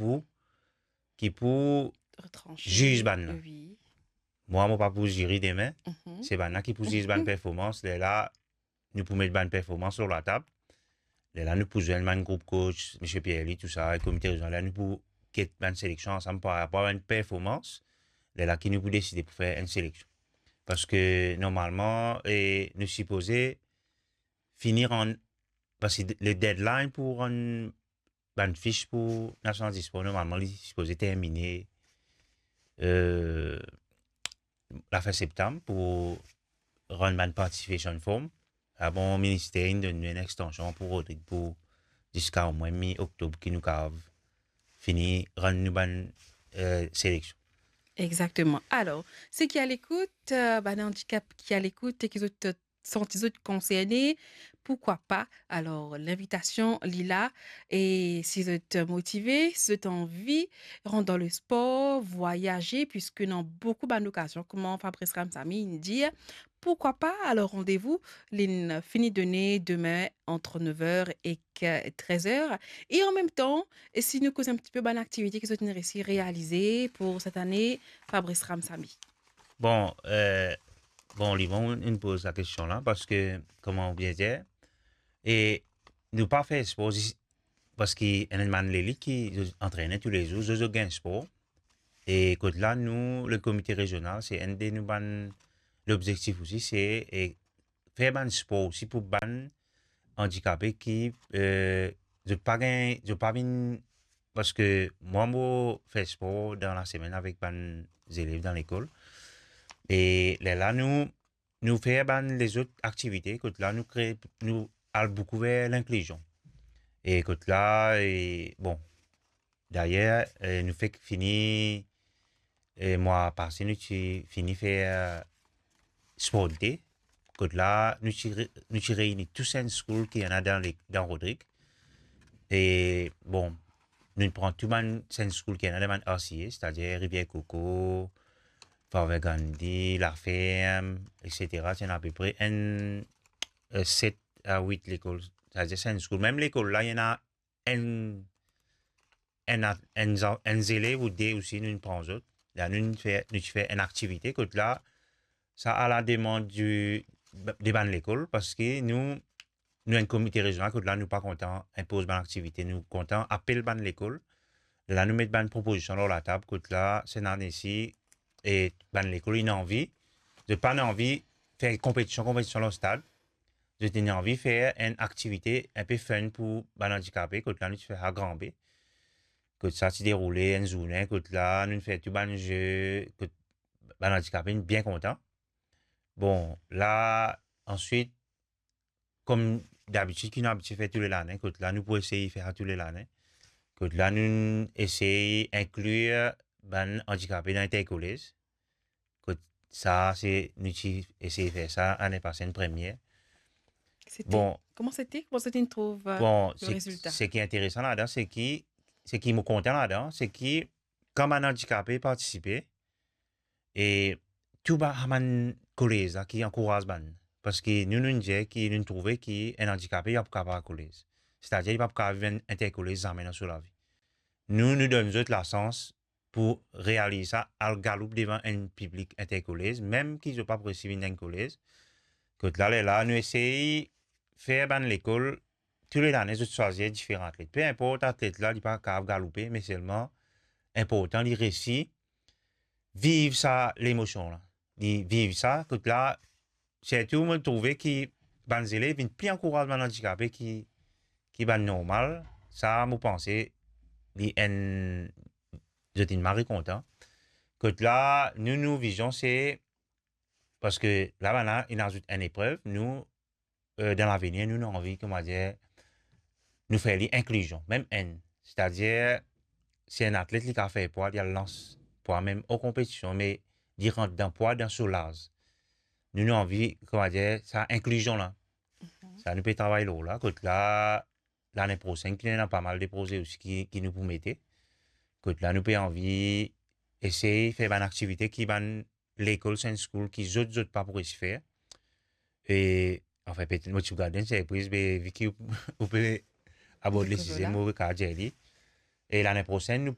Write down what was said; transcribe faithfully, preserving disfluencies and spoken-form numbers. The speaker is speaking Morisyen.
pou, ki pou Retranche. Ziz bann la. Oui. Mwa, mo pa pou ziri demin. Mhm. Se bann la ki pou ziz bann performans. Lerla nou pou met bann performans lor latab. Lerla nou pou zwenn bann group coach, Misie Pierre-Louis, tou sa, e komite rezional la, nou pou get bann seleksion ansam par rapor a bann performans. Lerla ki nou pou deside pou fer enn seleksion. Parski normalman, e, nou sipoze fini rann, parski le deadline pou rann bann fis pou Nasional Dispor, normalman, li sipoze termine, e, lafin septam pou rann bann participation form. Apre minister inn donn nou enn extension pou Rodrig pou ziska omwin mi oktob ki nou kapav fini rann nou bann, e, seleksion. Exactement. Alors, ceux qui à l'écoute, euh, bann handicapés qui à l'écoute et qui zot, euh, santi zot concerné, pourquoi pas? Alors, l'invitation li la, et si zot motivé, si zot anvi rant dans le sport, voyager, puisque dans beaucoup bann okazion, kouma Fabrice Ramsamy inn dir, pourquoi pas? Alors, rendez-vous, li fini donné demain entre neuf heures et treize heures. Et en même temps, e si nou koz enn ti pe bann aktivite ki zot inn resi realize pour cette année, Fabrice Ramsamy? Bon, e, bon, li bon, inn poz sa kestion la, parski, kouma ou bien dir, e nou pa fer spor zis parski enn bann lelit ki zot antrene toulezour, zot, zot gagn spor. E kot la, nou, le komite rezional, se enn de nou bann lobzektif osi, se, e, fer bann spor osi pou bann andikape ki, e, zot pa gagn, zot pa vinn, parski mwa, mo fer spor dan lasemenn avek bann zelev dan lekol. E lerla nou, nou fer bann lezot aktivite, kot la nou kre, nou al boukou ver linklizion. E kot la, e, bon, dayer, e, nou fek fini, e, mwa pase, nou ti fini fer sport d'été, kot la nou ti re-, nou ti reini tou Sunday School ki ena dan le-, dan Rodrig. E, bon, nou pran tou bann Sunday School ki ena dan bann R C A, setadir Rivière Coco, Father Gandhi, La Ferme, et cetera. Ti ena apepre enn, e, set a wit lekol, setadir Sunday School. Mem lekol la, ena enn, enn a-, enn zan-, enn zelev ou de osi, nou pran zot. La, nou fer, nou ti fer enn aktivite, kot la, sa a la demann di, de bann lekol, parski nou, nou enn komite rezional, kot la, nou pa kontan inpoz bann aktivite, nou kontan apel bann lekol. La, nou met bann propozision lor latab, kot la, sennane si, e bann lekol inn anvi, zot pa ena anvi fer konpetision, konpetision lor stad, zot inn anvi fer enn aktivite inpe fun pou bann andikape, kot la, nou ti fer sa Granbe. Kot sa ti deroule enn zourne, kot la, nou fer tou bann ze, kot bann andikape inn bien kontan. Bon, la, answit, kom dabitid ki nou abitie fer tou le lane, kot la, nou pou esey fer sa tou le lane. Kot la, nou esey inklir bann andikape dan interkolez. Kot sa, se, nou ti esey fer sa, ane pase, enn premie. C'était, Bon. Comment c'était? Comment c'était, tu trouves, euh, Bon, le se, résultat? Seki interesan ladan, seki, seki mo kontan ladan, seki kan bann andikape partisipe, e tou ba-, bann kolez la ki ankouraz bann. Parski nou, nou dir ki nou trouve ki enn andikape, li pa pou kapav al kolez. Setadir, li pa pou kapav viv enn interkolez zame dan so lavi. Nou, nou donn zot lasans pou realiz sa, al galoup devan enn piblik interkolez, mem ki zot pa pou resi vinn dan enn kolez. Kot la, lerla, nou esey fer bann lekol, tou le lane, zot swazir diferan atlet. Pe inport atlet la, li pa kapav galoupe, me selman, inportan, li resi viv sa lemosion la. Li viv sa, kot la, sirtou, mo trouve ki bann zelev vinn pli ankouraz bann andikape ki, ki bann normal. Sa, mo panse, li enn, zot inn mari kontan. Kot la, nou, nou vizion, se, parski la, bann la, inn azout enn eprev, nou, e, dan lavenir, nou, nou anvi, kouma dir, nou fer li inklizion, mem enn. Setadir, si enn atlet, li kapav fer pwa, li al lans pwa mem an konpetision, me li rant dan pwa, dan so laz. Nou, nou anvi, kouma dir, sa inklizion la. Sa, nou pe travay lor la, kot la, lane prosenn, ki ena pa mal de proze osi ki, ki nou pou mete. Kot la, nou pe anvi esey fer bann aktivite ki bann lekol Sunday School ki zot, zot pa pou resi fer. E, anfin, petet mo ti pou gard enn sirpriz, me vi ki ou, ou pe abord le Dakor, size, la. Mo kapav dir li. E lane prosenn, nou